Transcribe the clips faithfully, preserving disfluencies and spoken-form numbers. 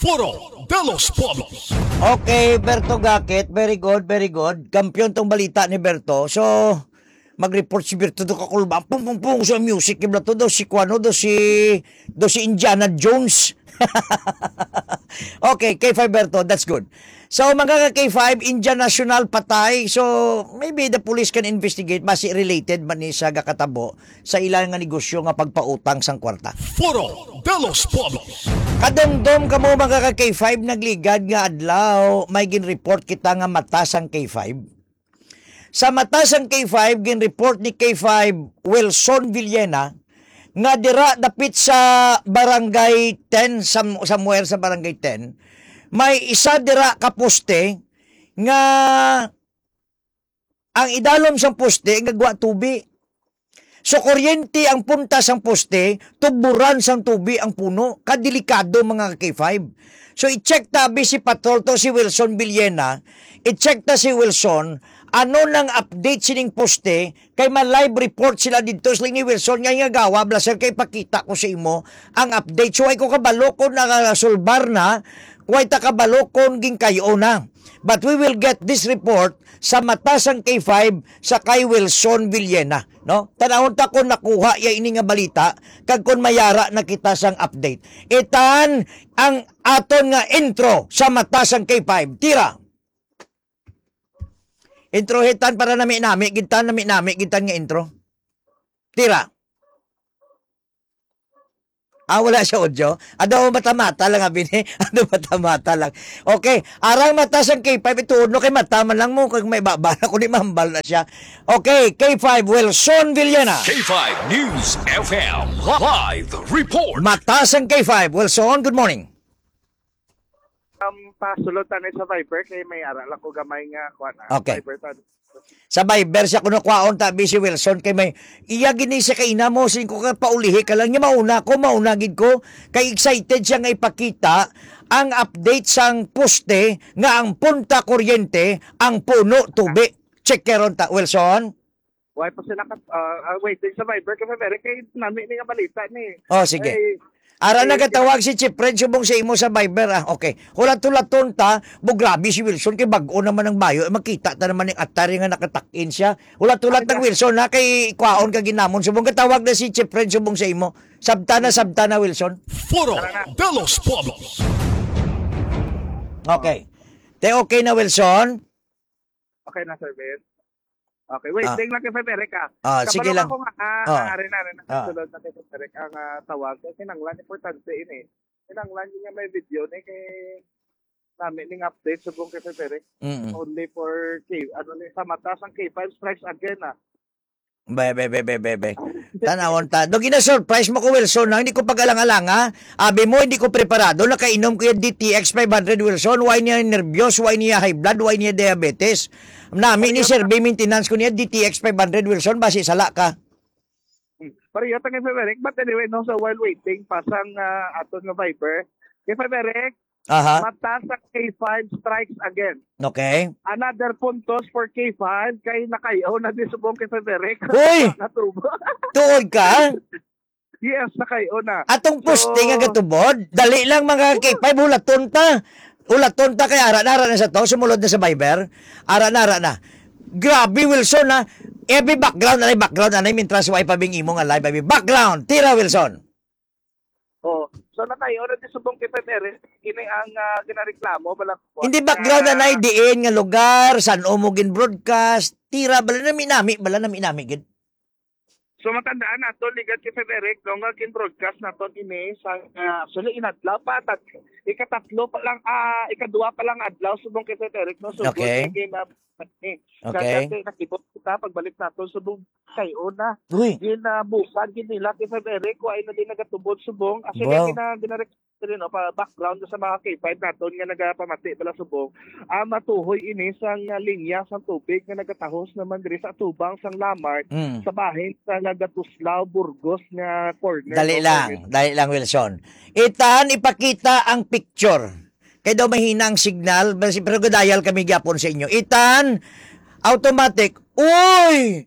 Foro de los Pueblos. Okay, Berto Gakit. Very good, very good. Kampiyon tong balita ni Berto. So, mag-report si Berto do kakulba. Pung, pung, pung, sa music, kibla to, do si Kuano, do si, do si Indiana Jones. Okay, K five Berto, that's good. So, mga ka K five, Indian national patay. So, maybe the police can investigate. Basi related man ni sa gakatabo sa ila nga negosyo nga pagpautang sang kwarta. Foro de los Pueblos. Kadumdom kamo, mga ka K five, nagligad nga adlaw, may gin-report kita nga mata sang K five. Sa mata sang K five, gin-report ni K five Wilson Villena nga dira dapit sa Barangay ten, sam-, somewhere sa Barangay ten, may isa dira ka poste nga ang idalom sang poste nga gwa tubi. So, kuryente ang punta sang poste, tuburan sang tubi ang puno. Kadelikado, mga ka K five. So, i-check ta abi si Patrol to, si Wilson Villena. I-check ta si Wilson, ano nang update sining poste, kay ma-live report sila didto, sila ni Wilson, nga nga gawa, bla, sir, kay pakita ko sa imo ang update. So, ay ko kabalo kung nakasulbar na, way ta kabalo kung ginkay-o na. But we will get this report sa mata sang K five sa kay Wilson Villena, no? Tanawon ta kung nakuha ya ini nga balita, kag kung mayara na kita sang update. Itan ang aton nga intro sa mata sang K five. Tira. Intro hitan para nami-nami, gintan nami-nami, gintan nga intro. Tira. Ah, wala siya audio? Ano, mata-mata lang, abi ni? Ano, mata-mata lang? Okay, arang mata sang K five, ituod no kay mata man lang mo, kag may baba na, kundi mahambal na siya. Okay, K five, Wilson Villena. K five News F M live report. Mata sang K five, Wilson, good morning. Um, pasulod tani sa Viber kay may ara lang ko gamay nga kuan, ah, Okay. Viber ta. Sa Viber siya kuno kwaon ta, busy Wilson, kay may iya gini siya kay inamo, sin ko ka paulihi ka lang niya, mauna ko, mauna gid ko, kay excited siya nga ipakita ang update sang poste nga ang punta kuryente, ang puno tubi. Check karon ta, Wilson. Why pa sila kat-, ah, ah, waiting sa Viber kasi very kay nami ni nga balita ni. Oh, sige. Ay, Ara ay, nagatawag si Chief Fred subong sa imo sa Viber, ah. Okay. Hulat-hulaton ta, bo, grabe si Wilson kay bag-o naman ang bayo. Eh, makita ta naman yung atari nga nakatakin siya. Hulat-hulat Ano ng na? Wilson, ha, kay kwaon ka ginamon. Subong gatawag na si Chief Fred subong sa imo. Sabta na, sabta na, Wilson. Foro Tara na. De los Pueblos. Okay. Te, okay na, Wilson? Okay na, Sir Ben. Okay, wait, Ah. Tingnan lang kay Frederick, ah. Ah, Kabalo sige lang. Ako nga, ah, Ah. Ari na, ari na, Ah. Sulod na kay Frederick ang, ah, tawag. Kay kinanglan, importante ini. Kinanglan yun nga may video ni kay nami ning update subong kay Frederick. Mm-mm. Only for K, ano ni, sa mata sang K five strikes again, ah. Be, be, be, be, be, be. Tanawon ta. Do gina-surprise mo ko, Wilson, ha? Hindi ko pag-alang-alanga. Abi mo, hindi ko preparado. Nakainom ko yung D T X five hundred, Wilson. Why niya nervyos? Why niya high blood? Why niya diabetes? Nami ni Pareho Sir ta- B maintenance ko niya, D T X five hundred, Wilson. Basi sala ka. Pareho ta kay Frederick. But anyway, no, so while waiting, pasang, ah, aton nga Viber. Kay Frederick, Aha. Mata sa K five strikes again. Okay. Another puntos for K five kay nakayaw na di subong kay Frederick. Uy! Natubo. Tuod ka? Yes, nakayaw na. Atong So, posting nga gatubod, dali lang mga K five, hulaton ta. Hulaton ta kay ara na, ara na sa to, sumulod na sa Viber. Ara na, ara na. Grabe, Wilson, ha. Every background, anay background, anay, mintras wa pa bing imo nga live, every background. Tira, Wilson. Oh, so nakayo na di subong kay Frederick, ini ang, ah, ginareklamo, bala ko. Hindi background na Ah. nay diin nga lugar, san-o mo gin-broadcast, tira, bala nami-nami, bala nami-nami gid. So matandaan nato, ligad kay Frederick, no, nga gin-broadcast nato ini sa, ah, actually, inadlaw pa, tat-, ikatatlo pa lang, ah, ikadua pa lang adlaw subong kay Frederick, no, so Okay. good na gin-, ah, eh. Okay. Kaya dati nakibot kita, pagbalik nato subong kay una. Uy. Ginabusan gid nila kay Frederick, wa na din nagatubod subong. Actually, Wow. gina-, gina-, no, pa background sa mga K five naton nga nagapamati bala subong. Ah, matuhoy ini sang, ah, linya sang tubig nga nagatahos naman diri sa atubang sang Lamart Mm. sa bahin sa Nagatuslao, Burgos nga corner, Dali no, lang, corner. Dali lang, Wilson. Itan, ipakita ang picture. Kay daw mahina ang signal, basi-, pero gadial kami gyapon sa inyo. Itan, automatic. Uy!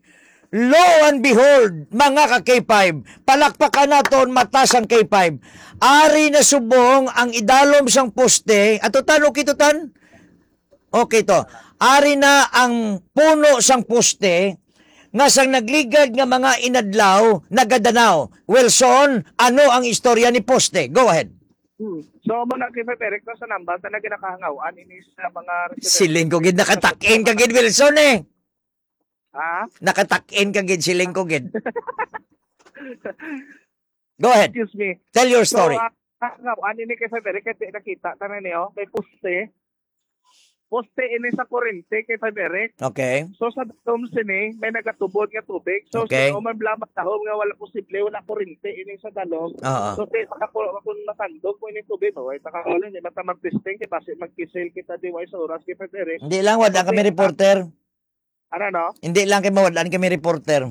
Lo and behold, mga ka K five, palakpakan naton mata sang K five. Ari na subong ang idalom sang poste. Ato tan, okay to tan? Okay to. Ari na ang puno sang poste nga sang nagligad nga mga inadlaw nagadanaw. Wilson, ano ang istorya ni poste? Go ahead. Hmm. So, amo na, K five Eric, no, sa nambal ta na ginakahangawan ini sa mga residente. Siling ko gid, nakatakin ka gid, Wilson, eh. Ha? Nakatakin ka gid, siling ko gid. Go ahead. Excuse me. Tell your So, story. Ah, hangawan ini, K five Eric, kay nakita ta na niyo, may poste. Poste ini sa kurente, K five Eric. Okay. So, sa dalom sini, may nagatubod nga tubig. So, Okay. Sino man bala matahom nga wala posible, wala kurente ini sa dalom. Oo. So, di, makaku-, kung matandog mo ini tubig, maway ta ka wala, di mata mag-testing, kay basi magkisil kita di way sa oras, K five Eric. Hindi lang, wala kami Okay. reporter. Ano, no? Hindi lang kay mawalan kami reporter.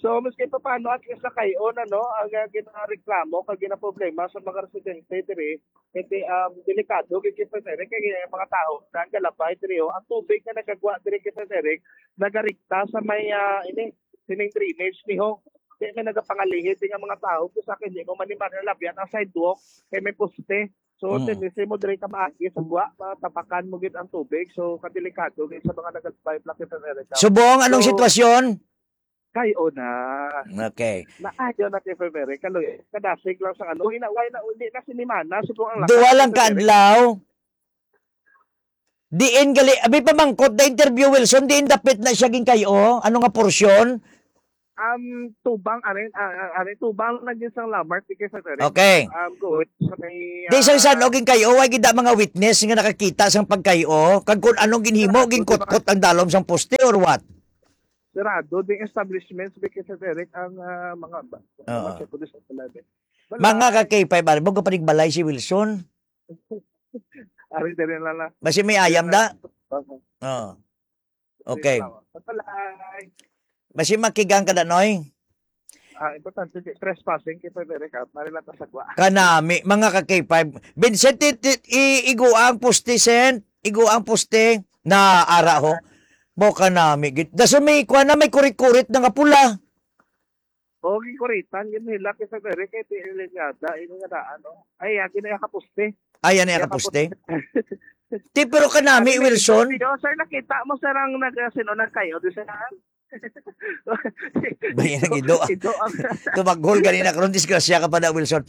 So, maski pa paano, at least nakayon, ano, ang uh, ginareklamo, kag ginaproblema sa mga residente diri, kasi um, delikado, kay K five Eric, kay ang mga tao, nang galabay diri, oh, ang tubig na nagagwa diri, K five Eric, nagarikta sa may, ah, ini, sining drainage ni ho. Kaya may nagapangalihit nga mga tao, sa akin, di mo man ni Maria Labian ang sidewalk, kay may poste. So, Mm. tendency mo diri ka maagi sa buwa, matapakan mo gid ang tubig. So, kadelikado gid sa mga nagagabay, Black America. Subong, anong So, sitwasyon? Kayo na. Okay. Naayo na kay Febere. Kaloy, kadasig lang sa ano. Ina, why na, hindi na sinimana. Subong ang Duwa lang Febere. Kaadlaw. Diin gali, abi pamangkot na interview, Wilson, diin dapit na siya ginkayo? Ano nga porsyon? Um, tubang, arin, ah, ah, arin, tubang na din sang Lamart, di kay Febere. Okay. Um, go sa may, Di sa ah, san og ginkayo, way gid mga witness nga nakakita sang pagkayo, kag kung anong ginhimo, gingkutkot ang dalom sang poste or what? Sarado ding establishments, di kay Febere, ang ah, mga ba. Oo. Mga check ko din sa pala, eh. Wala. Mga ka K five, ari mo, kapanigbalay si Wilson. Ari din lang na. Basi may ayam da? Oo. Oo. Okay. Wala. Basi makigang ka da, Noy? Ah, importante, di trespassing kay Febere ka. Mari lang ta sagwa. Kanami, mga ka K five. Vincent, i, i, i, igua ang poste, Sen. Igua ang poste. Na ara ho. Mo kanami. Git. Daso may kuha na, may kurit-kurit na nga pula. Okay, kuritan, yun nila kay Febere, kay T L N yata, yun nga daan, no? Ay, yan, yun yung kapuste. Ayan na yung kapuste. Ti, pero kanami, Wilson. Yo, sir, nakita mo, sir, ang nag, sino nagkayo, di sir? Bayan ang ido, ah. Ido ang Tumaghol ganina karon, disgrasya ka pa na, Wilson.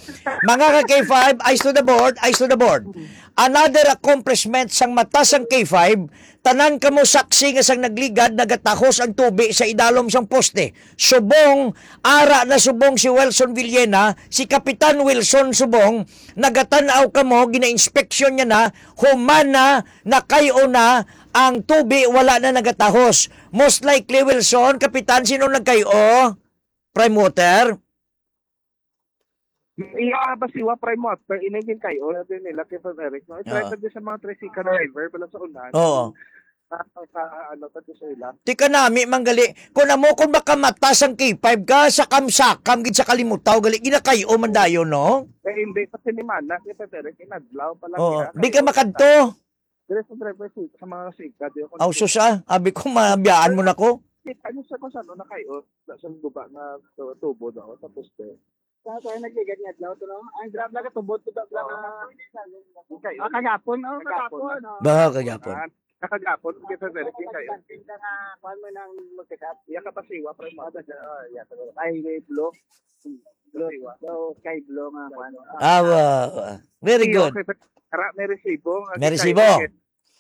Mga ka K five, eyes to the board, eyes to the board. Another accomplishment sang mata sang K five, tanan kamo saksi nga sang nagligad nagatahos ang tubi sa idalom sang poste. Subong, ara na subong si Wilson Villena, si Kapitan Wilson subong, nagatan-aw kamo, gina-inspeksyon niya na, human na, nakayo na, ang tubi wala na nagatahos. Most likely, Wilson, Kapitan, sino nagkayo? Prime Water? Iya, basiwa, Prime Water, inigin kayo, na din nila kay Frederick, no? I-try Oo. Sa mga tricycle driver, pala sa unahan. Oo. Ah, sa, ano, sa sa ila. Ti kanami man gali, kung amo, kung makamata sang K five ka, sakam-sakam gid sa kalimutaw gali, ginakayo man dayon, no? Eh, hindi pa sinimana, kay Frederick, inadlaw pa lang. Oo. Kaya Di ka kayo, makadto. Dire sa driver seat, sa mga siga, di ako. Aw, sus, ah. Abi ko, mabiyaan mo na ko. Kita niyo sa kung saan na kayo, sa guba na tu- tubo daw, tapos eh. Sa kaya nagligad nga adlaw to, no? Ang grab na katubod to, grab na. Kayo. Ah, kagapon, oh, Kagapon, kagapon, oh. Ba, kagapon. Ah, nakagapon, kita sa direct yung kayo. Pagkakita nga, kuwan mo ng magkakap. Iya ka pasiwa, pre mo. Ah, yeah, ay, may blow. Blow. So, kay blow nga, kuwan. Ah, wa- wa- very good. Ara, may resibo. May resibo.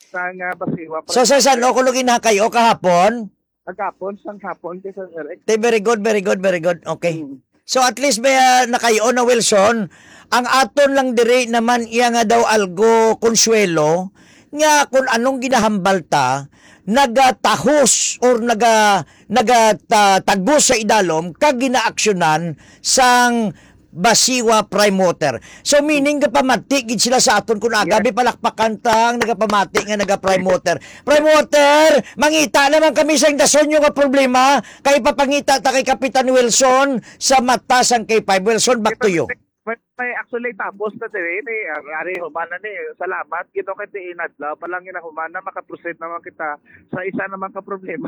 Sa nga pasiwa, pre. So, sa san o kuno ginakayo kahapon? Kagapon, sang hapon, kay sa direct. Te, very good, very good, very good. Okay. Mm. So, at least may ah, nakayo na, Wilson. Ang aton lang diri naman iya nga daw algo konsuelo nga kung anong ginahambal ta, nagatahos or naga, nagatagos sa idalom kag ginaaksyonan sang Basiwa Prime Water. So, meaning, gapamati gid sila sa aton kung aga, Yes. palakpakan tang nagapamati nga naga Prime Water. Prime Water, mangita naman kami sa dason nyo nga problema, kay papangita ta kay Kapitan Wilson sa mata sang K five. Wilson, back to you. May, may actually tapos na diri ni, ah, ari humana ni. Salamat gid kay ti inadlaw pa lang ginahuman na makaproceed naman kita sa isa naman ka problema.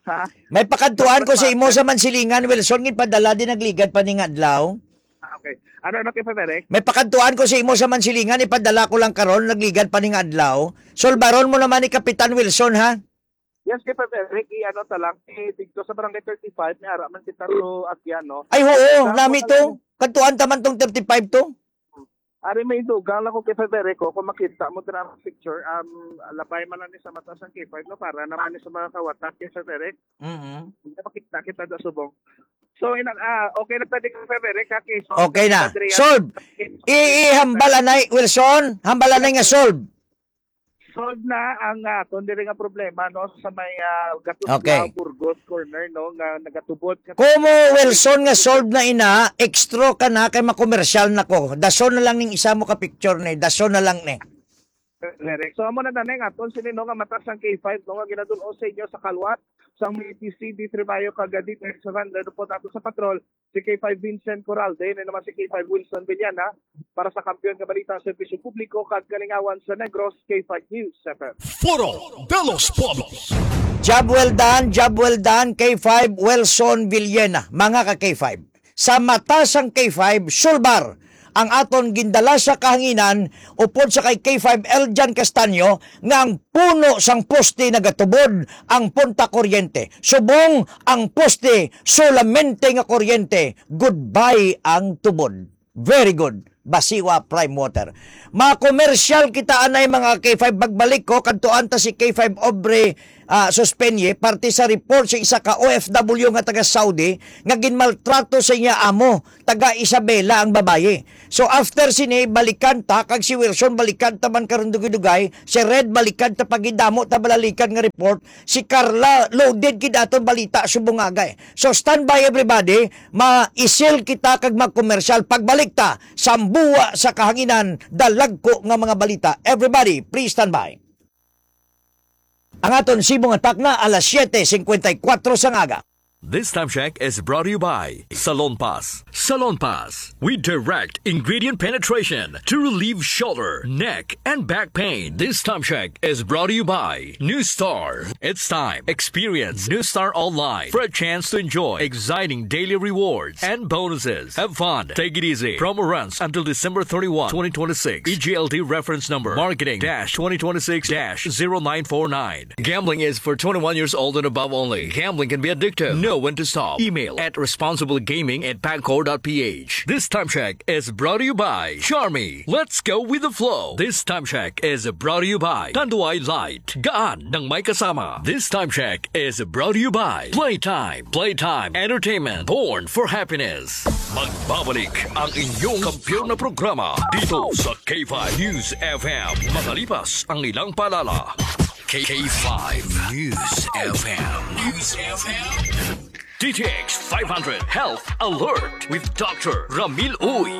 Ha? May pakadtuan ko sa imo sa Mansilingan, Wilson, ipadala din nagligad pa ning adlaw. Ah, okay. Ano, ano, Kay Frederick? May pakadtuan ko sa imo sa Mansilingan, ipadala ko lang karon, nagligad pa ning adlaw. Sulbaron mo naman ni Kapitan Wilson, ha? Yes, Kay Frederick, i-ano ta lang, eh, dito sa Barangay thirty-five, may ara man kita to agyan, no? Ay, oo, Sa nami wala to. Kadtuan ta man tong thirty-five to. Ari may dugang lang ko, Kay Frederick, oh, kung makita mo dira ang picture, um, labay man lang ni sa mata sang K five, no, para naman ni sa mga kawatak, Kay Frederick. Mm-hmm. Hindi makita kita da subong. So, ina, ah, okay na pwede, Kay Frederick, ha, Kay? So, Okay na. Adrian, Solve. I, ihambal anay, Wilson. Hambal anay nga solve. Solve na ang, ah, aton diri nga problema, no, sa may, ah, Gatus Okay. Lao, Burgos corner, no, nga nagatubod ka Como, Wilson, nga solve na ina, extra ka na kay makomersyal na ko. Dason na lang ning isa mo ka picture ni. Dason na lang ni. Correct. So, amo na, danay nga aton sini, no, nga mata sang K five, no, nga ginadul-o sa inyo sa kalwat sang may P C D Tribayo kag D T H Surrender po nato sa patrol, si K five Vincent Coralde, na naman si K five Wilson Villana, para sa Kampiyon nga Balita, Serbisyo Publiko kag Kalingawan sa Negros, K five News F M. Foro de los Pueblos. Job well done, job well done, K five Wilson Villena, mga ka K five. Sa mata sang K five, sulbar ang aton gindala sa kahanginan upod sa kay K five Eljan Castaño nga ang puno sang poste nagatubod ang punta kuryente. Subong ang poste, solamente nga kuryente, goodbye ang tubod. Very good. Basiwa Prime Water. Makomersyal kita anay, mga K five. Pagbalik ko, kadtuan ta si K five Aubrey, ah, Suspenye, parte sa report sa isa ka O F W nga taga Saudi nga ginmaltrato sa iya amo, taga Isabela ang babayi. So after sini, balikan ta, kag si Wilson, balikan ta man karon dugay-dugay, si Red, balikan ta pagidamo ta balalikan nga report, si Carla, loaded gid aton balita subong agay. So standby everybody, maisil kita kag magkomersyal. Pagbalik ta, sambuwa sa kahanginan, dalagko nga mga balita. Everybody, please stand by. Ang aton sibong atak na alas siete cincuenta y cuatro sang aga. This time check is brought to you by Salon Pass. Salon Pass. We direct ingredient penetration to relieve shoulder, neck, and back pain. This time check is brought to you by New Star. It's time. Experience New Star Online for a chance to enjoy exciting daily rewards and bonuses. Have fun. Take it easy. Promo runs until December thirty-one, twenty twenty-six. E G L D reference number marketing dash twenty twenty-six dash zero nine four nine. Gambling is for twenty-one years old and above only. Gambling can be addictive. Know when to stop. Email at responsiblegaming at pagcor dot P H. This time check is brought to you by Charmy. Let's go with the flow. This time check is brought to you by Tanduay Light. Gaan ng may kasama. This time check is brought to you by Playtime. Playtime Entertainment. Born for happiness. Magbabalik ang inyong kampiyon na programa dito sa K five News F M. Makalipas ang ilang paalala. K five News F M. News F M. D T X five hundred Health Alert with Doctor Ramil Uy.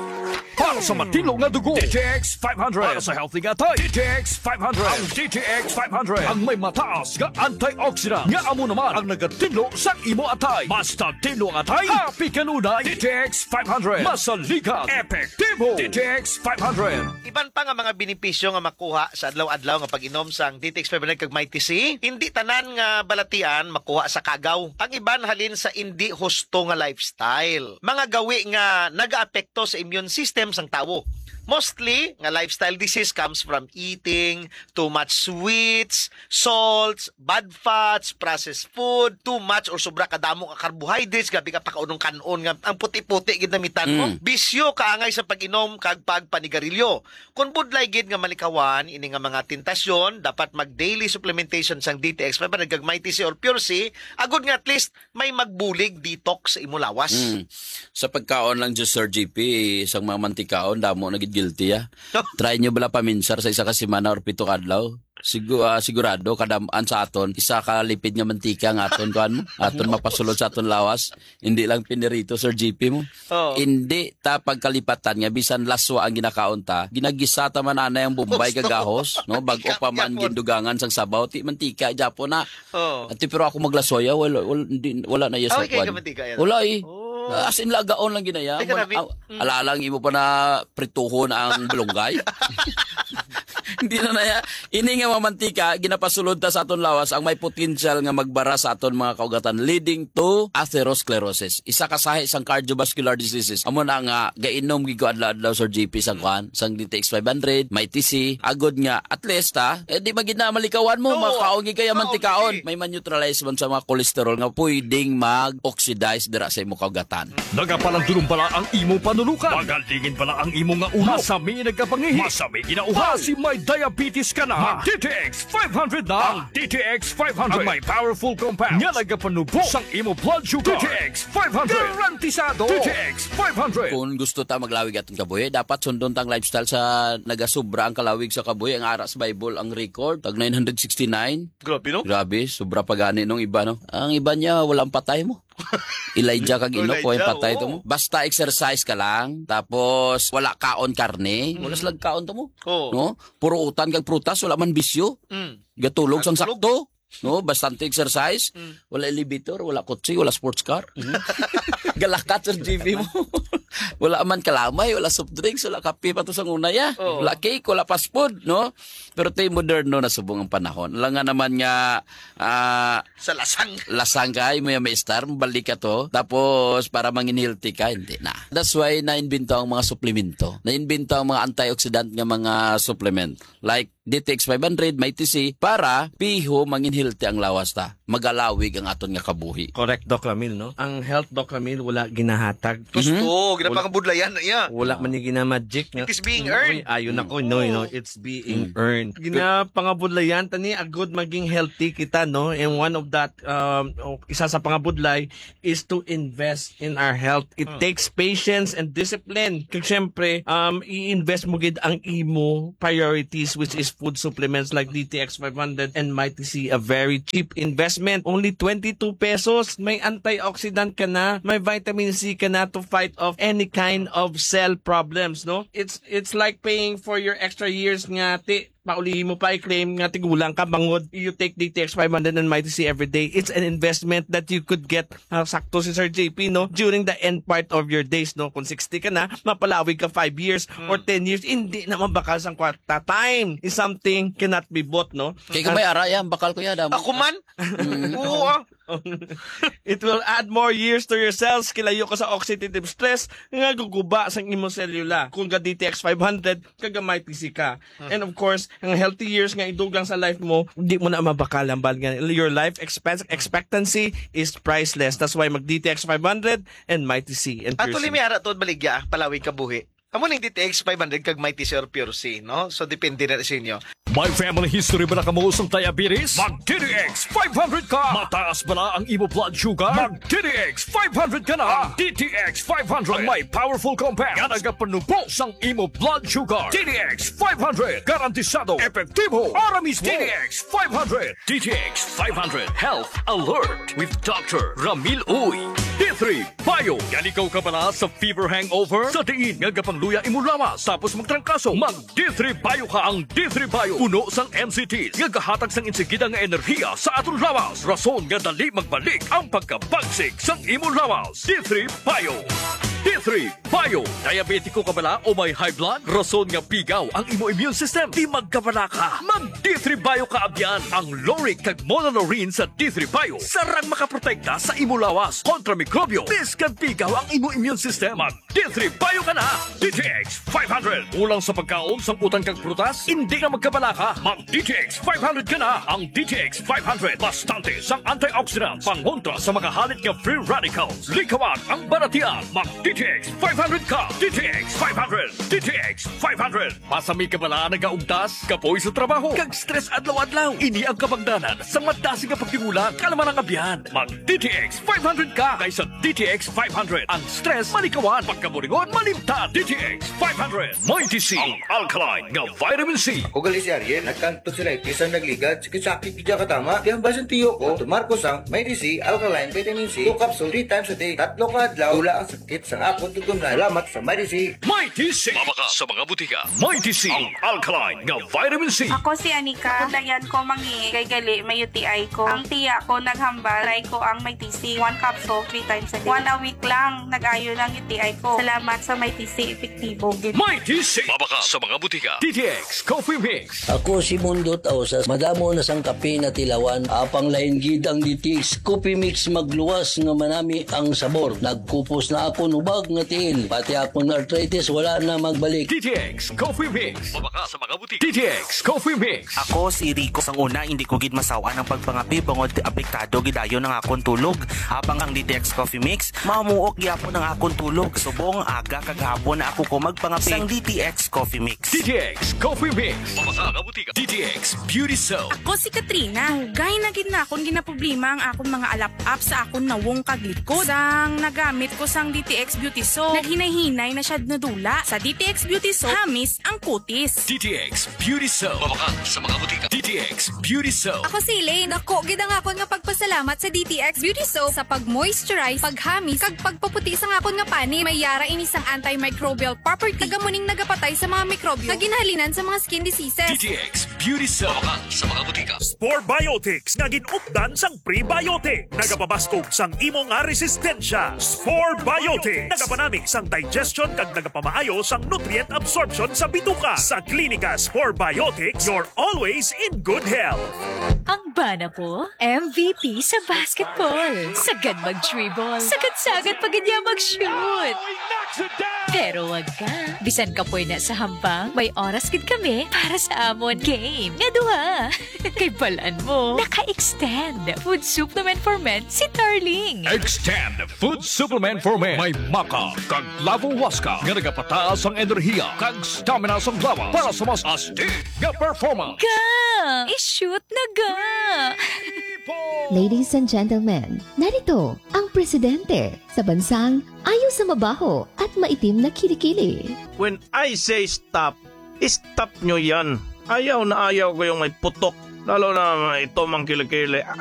Para sa matinlo nga dugo, D T X five hundred. Para sa healthy nga atay, D T X five hundred. Ang D T X five hundred ang may mataas nga antioxidant nga amo naman ang nagatinlo sa imo atay. Basta tinlo ang atay, happy kanunay. D T X five hundred. Masaligan, epektibo. D T X five hundred. Iban pa nga mga benepisyo nga makuha sa adlaw-adlaw nga pag-inom sang D T X five hundred kag Mighty C, hindi tanan nga balatian makuha sa kagaw. Ang iban halin sa indi husto nga lifestyle. Mga gawi nga nagaapekto sa immune system sang tawo. Mostly nga lifestyle disease comes from eating too much sweets, salts, bad fats, processed food, too much or sobra kadamo nga carbohydrates, grabe ka pakaunong kan-on nga ang puti-puti gid namitan mo. Mm. Bisyo kaangay sa pag-inom kag pagpanigarilyo. Kon budlay gid nga malikawan ini nga mga tentasyon, dapat mag daily supplementation sang D T X five hundred kag Mighty C or Pure C, agod nga at least may magbulig detox sa imo lawas. Mm. Sa pagkaon lang, just Sir G P, isang mga mantikaon, damo na gid guilty, ah. Try nyo bala paminsar sa isa ka semana or pito ka adlaw. Sigu-, ah, sigurado, kadam-an sa aton, isa ka lipid nga mantika nga aton, kuan mo, aton mapasulod sa aton lawas. Hindi lang pinirito, Sir G P mo. Oo. Hindi ta pagkalipatan nga bisan laswa ang ginakaon ta, ginagisa ta man anay ang bombay kag Gusto. Gahos, no? Bag-o pa man Gahos. Gindugangan sang sabaw, ti mantika, Japon na. Oo. Ati, pero ako maglasoy, ah, wala, wala, hindi, wala na iya sa Okay, kuan. Kamantika yan. Wala, eh. Oh. As in, lagaon lang ginaya. Ay, grabe. Alalang imo pa na prituhon ang balunggay. Hindi na na ya. Ini nga mga mantika, ginapasulod ta sa aton lawas ang may potensyal nga magbara sa aton mga kaugatan, leading to atherosclerosis. Isa ka sahi sang cardiovascular diseases. Amo na nga gainom gid ko adlaw-adlaw, Sir G P, sang kuan, sang D T X five hundred, may T C, agod nga at least, ha, eh, di magid na malikawan mo, Oo. Makaon gid kaya Oo, mantikaon. May man-neutralize man sa mga cholesterol nga pwedeng mag-oxidize dira sa imo kaugatan. Nagapalandulong bala ang imo panulukan? Magalingin bala ang imo nga ulo? Masami nagkapangihi? Masami ginauhaw? Basi may diabetes ka na? Mag D T X five hundred na. Ang D T X five hundred. Ang may powerful compound nga nagapanubo sang imo blood sugar. D T X five hundred. Garantisado. D T X five hundred. Kung gusto ta maglawig atong kabuhi, dapat sundon tang lifestyle sa nagasubra ang kalawig sa kabuhi. Ang ara sa Bible, ang record, tag nine hundred sixty-nine. Grabe, no? Grabe, sobra pa gani nung iba, no? Ang iba niya, walang patay mo. Elijah kag Enoch, Elijah, way patay to oo. Mo. Basta exercise ka lang, tapos wala kaon karne, wala Mm. silang kaon to mo. Oo. No? Puro utan kag prutas, wala man bisyo. Mm. Gatulog sang Gatulog. Sakto. No, bastante exercise, Mm. wala elevator, wala kotse, wala sports car. Mm. Galakat sa G V mo. Wala man kalamay, wala soft drinks, wala kape pa to sa una, ya. Oo. Wala cake, wala fast food, no? Pero tay moderno na subong ang panahon. Alam nga naman nga, ah, Sa lasang. Lasang kay mo yung maestar, balik ka to. Tapos, para mangin healthy ka, hindi na. That's why na-invento ang mga suplemento. Na-invento ang mga antioxidant nga mga supplement. Like, D T X five hundred, may T C, para piho mangin healthy ang lawas ta. Magalawig ang aton nga kabuhi. Correct, Doc Ramil, no? Ang health, Doc Ramil, wala ginahatag. Gusto, Mhm. ginapangabudlayan na iya. Wala man ni ginamagic nga, It is being "Uy, earned. Ayun ako, no, no, Mm. it's being Mm. earned." Ginapangabudlayan, tani, agod maging healthy kita, no? And one of that, um, o, isa sa pangabudlay is to invest in our health. It Mm. takes patience and discipline. Kag syempre, um, i-invest mo gid ang imo priorities, which is food supplements like D T X five hundred and Mighty C, a very cheap investment. Only twenty-two pesos. May antioxidant ka na, may vitamin C ka na to fight off any kind of cell problems, no? It's, it's like paying for your extra years nga, ti, pauli mo pa i-claim nga tigulang ka bangod you take D T X five hundred and Mighty C every day. It's an investment that you could get, ah, sakto si Sir J P, no? During the end part of your days, no? Kung sixty ka na, mapalawig ka five years Hmm. or ten years, hindi na mabakal sang kwarta. Time is something cannot be bought, no? Kay kung may ara yan, bakal ko yan, damo. Ako man? Mm. Oo, ah. It will add more years to your cells. Kilayo ka sa oxidative stress nga guguba sang imong selula. Kung ga D T X five hundred, kagamay T C ka. Hmm. And of course, ang healthy years nga idugang sa life mo, di mo na mabakal ang bal nga your life expense, expectancy is priceless. That's why mag D T X five hundred and Mighty C and Pure Actually, C. May ara to baligya, palawig ka buhi. Amo ning D T X five hundred kag Mighty C or Pure C, no? So, depende na sa inyo. May family history ba na kamo sang diabetes? Mag D T X five hundred ka! Mataas ba na ang imo blood sugar? Mag D T X five hundred ka na! Ang D T X five hundred ang may powerful compound nga nagapanubo sang imo blood sugar. D T X five hundred, garantisado, epektibo, para mismo. D T X five hundred. D T X five hundred Health Alert with Doctor Ramil Uy. D three Bio. Nalikaw ka bala sa fever hangover? Sa diin nga gapangluya imo lawas tapos magtrangkaso? Mag D three Bio ka. Ang D three Bio puno sang M C Ts nga gahatag sang insigida nga enerhiya sa aton lawas, rason nga dali magbalik ang pagkabagsik sang imo lawas. D three Bio. D three Bio. Diabetiko ka bala o may high blood? Rason nga pigaw ang imo immune system, di magkabala ka. Mag D three Bio ka, abyan. Ang lauric kag monolaurin sa D three Bio sarang makaprotekta sa imo lawas kontra mikrobyo, biskan pigaw ang imo immune system. Mag D three Bio ka na. D T X five hundred. Kulang sa pagkaon, sang utan kag prutas? Hindi na magkabala ka. Mag D T X five hundred ka na. Ang D T X five hundred bastante sang antioxidants, pangontra sa mga halit nga free radicals. Likawan ang baratian. Mag D T X five hundred ka. D T X five hundred. D T X five hundred. Masami ka bala nagaugtas, kapoy sa trabaho, kag stress adlaw-adlaw? Ini ang kabangdanan sa madasig nga pagtigulang kalaman ang abyan. Mag D T X five hundred ka kaysa D T X five hundred. Ang stress malikawan, pagkaburingon malimtan. D T X five hundred. Mighty C, ang alkaline nga vitamin C. Ako gali si Ariel, nagkang tonsillitis ang nagligad, sakit-sakit gid katama. Di ang basin tiyo ko, tumar ko sang Mighty C, alkaline vitamin C, two capsule, three times a day. Tatlo ka adlaw, wala ang sakit sang akon tutumlan. Salamat sa Mighty C. May Mighty C. Mabakal sa mga butika. Mighty C, ang alkaline nga vitamin C. Ako si Anika. Dayan ko mangi kay gali may U T I ko. Ang tiya ko naghambal, try ko ang Mighty C. One capsule, three times a day. One a week lang, nag-ayo ng U T I ko. Salamat sa Mighty C, epektibo gid. Mighty C. Mabakal sa mga butika. D T X Coffee Mix. Ako si Mundo Tausas. Madamo na sang kape na tilawan. Apang lain gid ang D T X Coffee Mix, magluwas nga manami ang sabor. Nagkupos na akon ubag nga tiil. Pati akon arthritis wala na magbalik. D T X Coffee Mix. Mabakal sa mga butika. D T X Coffee Mix. Ako si Rico. Sang una, hindi ko gid masawan ang pagpangapi bangod apektado gid dayon ang akon tulog. Apang ang D T X Coffee Mix, mamuok gyapon ang akon tulog. Subong aga kag hapon na ako ko magpangapi. Sang D T X Coffee Mix. D T X Coffee Mix. Mabakal sa mga butika. D T X Beauty Soap. Ako si Katrina. Dugay na gid na akon ginaproblema ang akon mga alap-ap sa akon nawong kag likod. Sang nagamit ko sang D T X Beauty Soap, naghinay-hinay na siya nadula. Sa D T X Beauty Soap, hamis ang kutis. D T X Beauty Soap. Mabakal sa mga butika. D T X Beauty Soap. Ako si Elaine. Dako gid ang akon nga pagpasalamat sa D T X Beauty Soap sa pag-moisturize, paghamis, kag pagpaputi sang akon nga panit. May yara ini sang antimicrobial property. Taga muning nagapatay sa mga mikrobyo nga ginhalinan sa mga skin diseases. D T X Beauty Soap. Mabakal sa mga butika. Spore Biotics nga gin-updan sang prebiotic. Nagapabaskog sang imo nga resistensya. Spore Biotics. Nagapanami sang digestion kag nagapamaayo sang nutrient absorption sa bituka. Sa Klinika Spore Biotics, you're always in good health. Ang bana ko, M V P sa basketball. Sagad mag-dribble. Sagad-sagad pa gid niya mag-shoot. Pero wag ka. Bisan kapoy na sa hampang, may oras gid kami para sa amon game nga duha. Kay balan mo, naka-extend food supplement for men si Tarling. Extend food supplement for men. May maca kag clavo huasca nga nagapataas ang enerhiya kag stamina sang lawas para sa mas astig nga performance. Ga! I-shoot na ga! Ladies and gentlemen, narito ang presidente sa bansang ayo sa mabaho at maitim na kilikili. When I say stop, stop nyo yan. Ayaw na ayaw ko yung may putok. Lalo na ito mang kilikili. Ah,